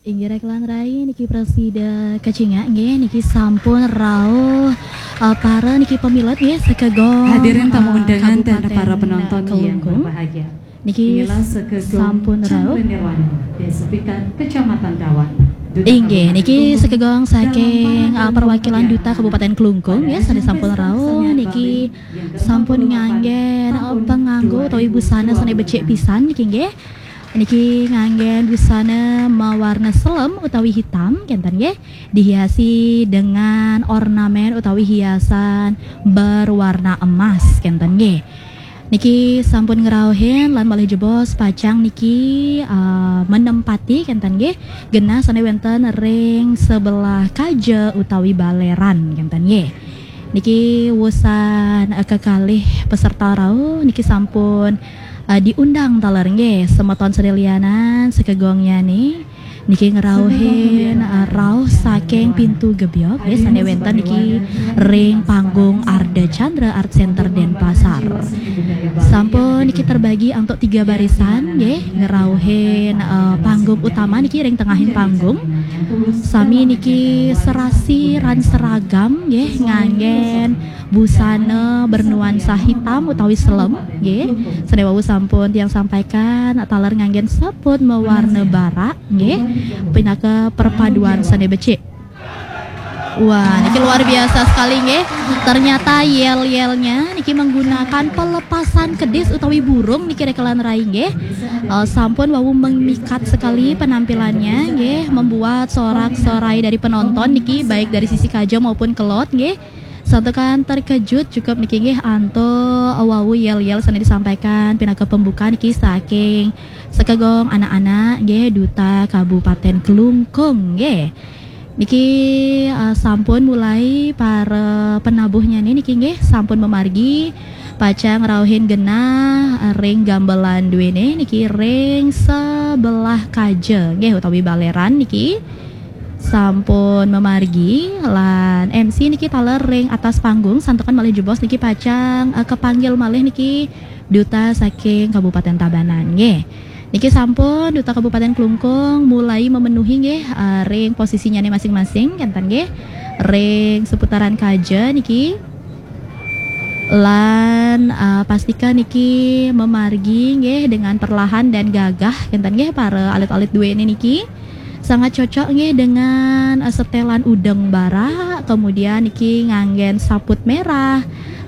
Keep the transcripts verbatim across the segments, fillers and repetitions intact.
Inggih rekan rai niki prasida kacingak nggih niki sampun rauh eh, para niki pemilet nggih sekegong Hadirin tamu eh, undangan dan Kabupaten para penonton yang Kelungkung. Berbahagia. Niki Inilah sekegong sampun rauh. Cemplon Nirwana di Sepikat Kecamatan Dawan. Duta Inggih, Kabupaten niki Kelungkung sekegong dalam saking uh, panggung perwakilan kemudian Duta Kabupaten Kelungkung pada ya sané ajang sampun pesta rauh kesenian niki Bali yang sampun kedelapan nganggen tahun uh, penganggo utawi busana sané becik dua ribu dua puluh dua. Pisan niki nggih. Niki nganggen busana mawarna selem utawi hitam kenten nggih. Dihiasi dengan ornamen utawi hiasan berwarna emas kenten nggih. Niki sampun ngrauhin lan malih jebos pacang niki uh, menempati kenten nggih genah sané wénten ring sebelah kaja utawi baleran kenten nggih. Niki wusan uh, kekalih peserta rauh niki sampun uh, diundang taler nggih semeton sané lianan sekegongnya nih. Niki ngrauhin uh, rauh saking pintu gebyok nggih sané wénten niki ring panggung Arda Chandra Art Center Denpasar. Sampun niki terbagi antuk tiga barisan nggih ngrauhin uh, panggung utama niki ring tengahing panggung. Sami niki serasi ran seragam nggih nganggen busana bernuansa hitam utawi selem nggih. Sané wau sampun tiang sampaikan taler nganggen saput mawarna barak nggih. Pinaka perpaduan sané becik. Wah, niki luar biasa sekali nggih. Ternyata yel-yelnya niki menggunakan pelepasan kedis utawi burung niki rekan rai nggih. Uh, sampun wau memikat sekali penampilannya nggih, membuat sorak-sorai dari penonton niki baik dari sisi kaja maupun kelod nggih. Santukan terkejut cukup niki nggih antuk wau yel-yel sané disampaikan pinaka pembuka niki saking sekegong anak-anak nggih Duta Kabupaten Kelungkung nggih. Niki uh, sampun mulai para penabuhnya nih niki nggih sampun memargi pacang rauhin genah uh, ring gambelan duwene niki ring sebelah kaja nggih utawi baleran niki sampun memargi lan M C niki taler ring atas panggung santukan malih jebos niki pacang uh, kepanggil malih niki duta saking Kabupaten Tabanan nggih. Niki sampun Duta Kabupaten Klungkung mulai memenuhi nggih uh, ring posisinya nih masing-masing kenten nggih. Ring seputaran kaja niki lan uh, pastika niki memargi nggih dengan perlahan dan gagah kenten nggih para alit-alit duwene niki. Sangat cocok nggih dengan uh, setelan udeng barak, kemudian niki nganggen saput merah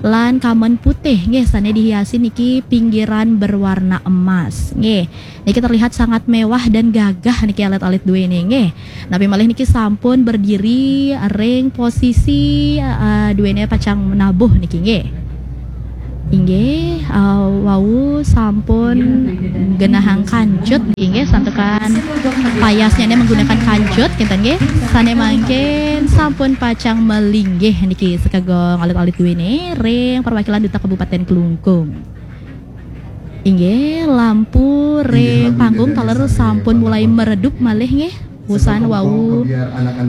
lan kamen putih nggih sane dihiasi niki pinggiran berwarna emas nggih. Niki terlihat sangat mewah dan gagah niki alit-alit duwene nggih. Napi malih niki sampun berdiri ring posisi uh, duwene pacang menabuh niki nggih. Inggih, uh, wau sampun genahang kancut niki nggih santukan payasnya ini menggunakan kancut kenten nggih. Sane mangkin sampun pacang melinggih niki sekegong alit-alit duwene ring perwakilan Duta Kabupaten Klungkung. Inggih, lampu ring panggung taler sampun mulai meredup malih nggih. Usan wau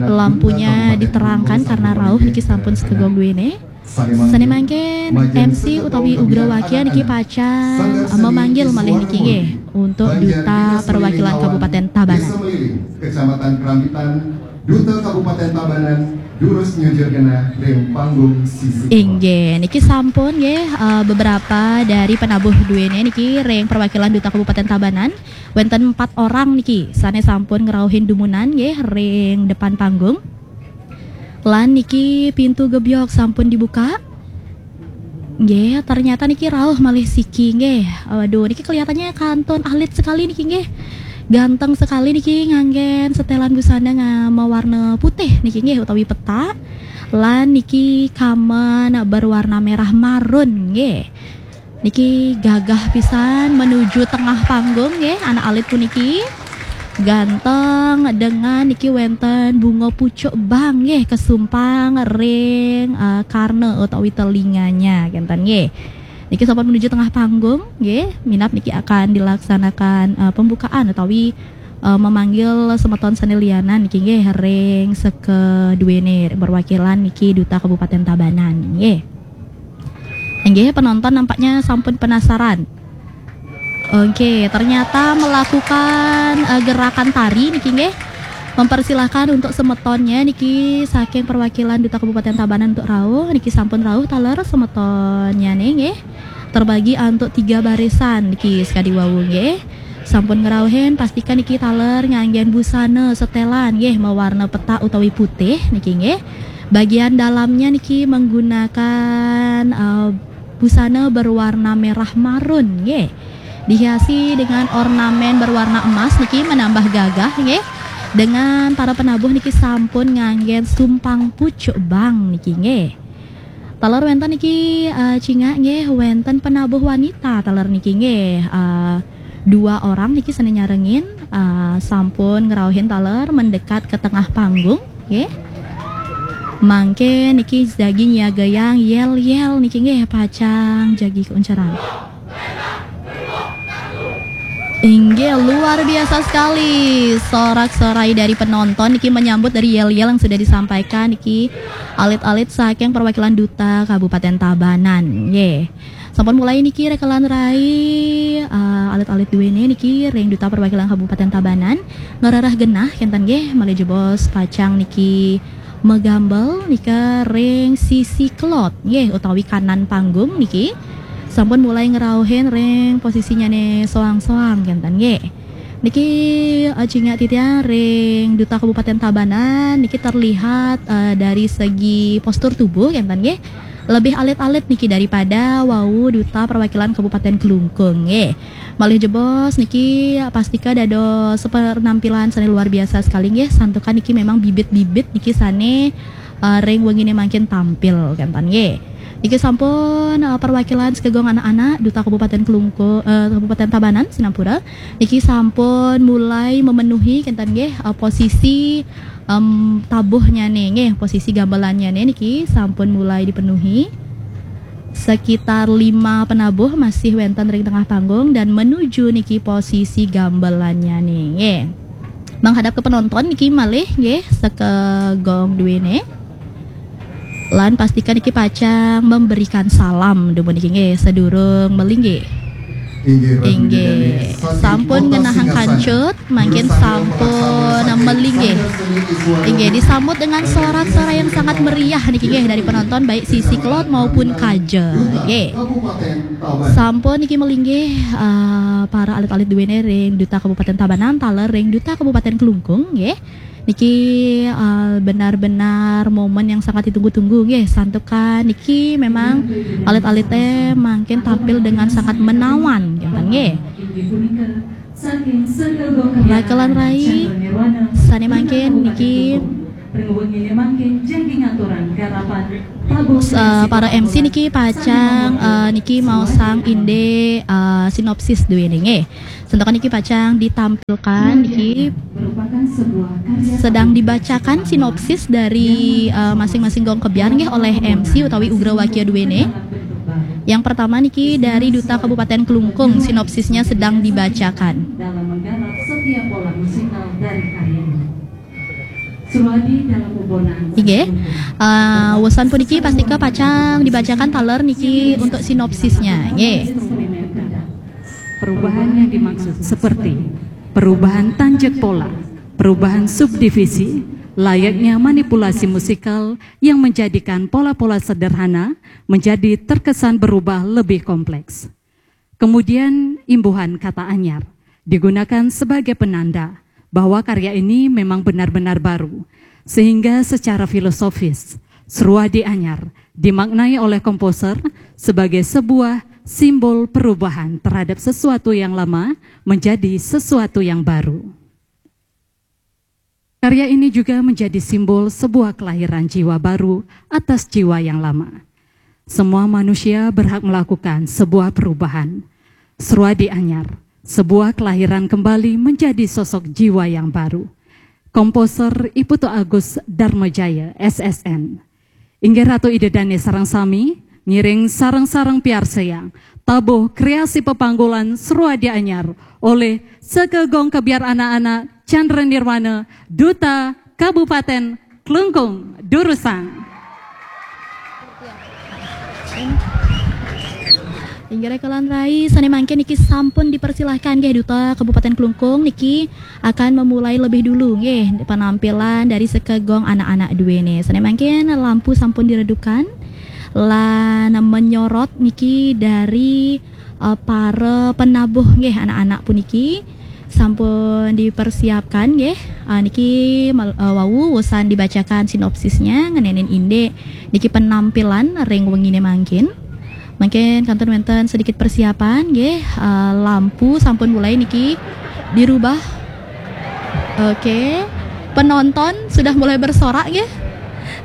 lampunya diterangkan karena rauh niki sampun sekegong duwene. Sane mangkin M C utawi Ugra Wakia niki pacang memanggil malih niki nggih untuk duta perwakilan Kabupaten Tabanan. Kecamatan Kerambitan, Duta Kabupaten Tabanan, durus nyujur genah ring panggung sisi. Inggih, niki sampun nggih uh, beberapa dari penabuh duwene niki ring perwakilan Duta Kabupaten Tabanan. Wenten empat orang niki sane sampun ngrauhin dumunan nggih ring depan panggung. Lan niki pintu gebyok sampun dibuka. Nggih, ternyata niki rauh malih siki nggih. Waduh, niki kelihatannya kantun alit sekali niki nggih. Ganteng sekali niki nganggen setelan busana nga mawarna putih niki nggih utawi petak. Lan niki kamen berwarna merah marun nggih. Niki gagah pisan menuju tengah panggung nggih anak alit puniki. Ganteng dengan niki wenten bunga pucuk bang nggih kesumpang ring uh, karna utawi telinganya kenten nggih. Niki sampun menuju tengah panggung nggih. Minap niki akan dilaksanakan uh, pembukaan utawi uh, memanggil semeton sane lianan niki nggih ring sekeduene perwakilan niki Duta Kabupaten Tabanan nggih. Nggih, penonton nampaknya sampun penasaran. Oke, ternyata melakukan uh, gerakan tari niki nggih. Mempersilahkan untuk semetonnya niki saking perwakilan Duta Kabupaten Tabanan untuk rauh, niki sampun rauh taler semetonnya nih nggih. Terbagi untuk tiga barisan niki sekadi wau nggih. Sampun ngerauhin, pastikan niki taler nganggen busana setelan nggih, mewarna petak utawi putih niki nggih. Bagian dalamnya niki menggunakan uh, busana berwarna merah marun nggih. Dihiasi dengan ornamen berwarna emas niki menambah gagah nggih. Dengan para penabuh niki sampun nganggen sumpang pucuk bang niki nggih. Taler wenten niki uh, cingak nggih, wenten penabuh wanita taler niki nggih. Uh, dua orang niki sane nyarengin uh, sampun ngerauhin taler mendekat ke tengah panggung nggih. Mangke niki jagi nyiagayang yel-yel niki nggih, pacang jagi keunceran. Inggih, luar biasa sekali sorak-sorai dari penonton niki menyambut dari yel-yel yang sudah disampaikan niki alit-alit saking perwakilan Duta Kabupaten Tabanan. Nggih. Sampun mulai niki rekelan rai uh, alit-alit duene niki ring Duta Perwakilan Kabupaten Tabanan ngerereh genah kenten nggih, malih jebos pacang niki megambel nika ring sisi kelod nggih utawi kanan panggung niki. Sampun mulai ngerauhin ring posisinyane soang-soang kenten nggih. Niki uh, cingak titiang ring Duta Kabupaten Tabanan niki terlihat uh, dari segi postur tubuh kenten nggih. Lebih alit-alit niki daripada wau Duta Perwakilan Kabupaten Klungkung nggih. Malih jebos niki pastika dados penampilan sane luar biasa sekali nggih. Santukan niki memang bibit-bibit niki sane uh, ring wengine mangkin tampil kenten nggih. Niki sampun uh, perwakilan sekegong anak-anak Duta Kabupaten Klungkung uh, Kabupaten Tabanan sinampura niki sampun mulai memenuhi kenten nggih uh, posisi um, tabuhnya nih nggih, posisi gamelannya nih niki sampun mulai dipenuhi. Sekitar lima penabuh masih wenten ring tengah panggung dan menuju niki posisi gamelannya nih nggih. Menghadap ke penonton niki malih nggih, sekegong duene. Lan pastikan niki pacang memberikan salam dumun niki nggih, sedurung melinggih. Inggih, sampun ngenahang kancut, mangkin sampun melinggih. Inggih, disambut dengan sorak-sorai yang sangat meriah niki nggih dari penonton baik sisi kelod maupun kaja. Nggih. Sampun niki melinggih uh, para alit-alit duene ring Duta Kabupaten Tabanan taler ring Duta Kabupaten Klungkung nggih. Niki uh, benar-benar momen yang sangat ditunggu-tunggu nggih. Santukan niki memang alit-alite mangkin tampil dengan sangat menawan nggih. Rakelan rai sane mangkin niki uh, para M C niki pacang uh, niki mau sang inde uh, sinopsis duwe nggih. Santukan niki pacang ditampilkan niki sedang dibacakan sinopsis dari uh, masing-masing gong kebyar nggih oleh M C utawi Ugra Wakia duwene. Yang pertama niki dari Duta Kabupaten Klungkung, sinopsisnya sedang dibacakan. Dalam menggarap setiap pola musikal dari karya ini. Inggih. Uh, wesan puniki pastika pacang dibacakan taler niki untuk sinopsisnya. Nggih. Perubahan yang dimaksud seperti perubahan tanjak pola, perubahan subdivisi, layaknya manipulasi musikal yang menjadikan pola-pola sederhana menjadi terkesan berubah lebih kompleks. Kemudian imbuhan kata anyar digunakan sebagai penanda bahwa karya ini memang benar-benar baru, sehingga secara filosofis, Seruadi Anyar dimaknai oleh komposer sebagai sebuah simbol perubahan terhadap sesuatu yang lama menjadi sesuatu yang baru. Karya ini juga menjadi simbol sebuah kelahiran jiwa baru atas jiwa yang lama. Semua manusia berhak melakukan sebuah perubahan. Seruadi Anyar, sebuah kelahiran kembali menjadi sosok jiwa yang baru. Komposer Iputu Agus Darmajaya, S S N. Inggih Ratu Ida Dane sareng sami, ngiring sareng-sareng piarsayang tabuh kreasi pepanggulan Seruadi Anyar oleh Sekegong Kebyar Anak-anak Chandra Nirwana, Duta Kabupaten Klungkung, durusang. Inggih raka lan rai, sané mangkin niki sampun dipersilahkan nggih Duta Kabupaten Klungkung niki akan memulai lebih dulu nggih penampilan dari sekegong anak-anak duéné. Sané mangkin lampu sampun diredupkan lan menyorot niki dari eh, para penabuh nggih anak-anak puniki sampun dipersiapkan nggih. Eh, niki mal- eh, wau wusan dibacakan sinopsisnya ngenénin indik niki penampilan ring wenginé mangkin. Mungkin kantun wénten sedikit persiapan nggih. Eh, lampu sampun mulai niki dirubah. Oke. Penonton sudah mulai bersorak nggih.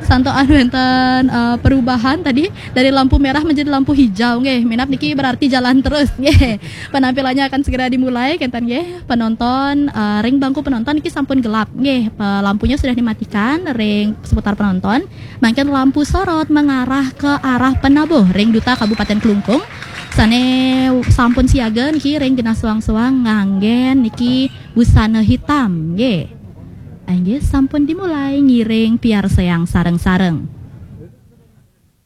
Santukan wénten eh, perubahan tadi dari lampu merah menjadi lampu hijau nggih. Minab niki berarti jalan terus nggih. Penampilannya akan segera dimulai kenten nggih. Penonton eh, ring bangku penonton niki sampun gelap nggih. Pe- Lampunya sudah dimatikan ring seputar penonton. Mangkin lampu sorot mengarah ke arah penabuh ring Duta Kabupaten Klungkung. Sané sampun siaga niki ring genah suang-suang nganggén niki busana hitam nggih. Inggih sampun dimulai ngiring piarsayang sareng-sareng.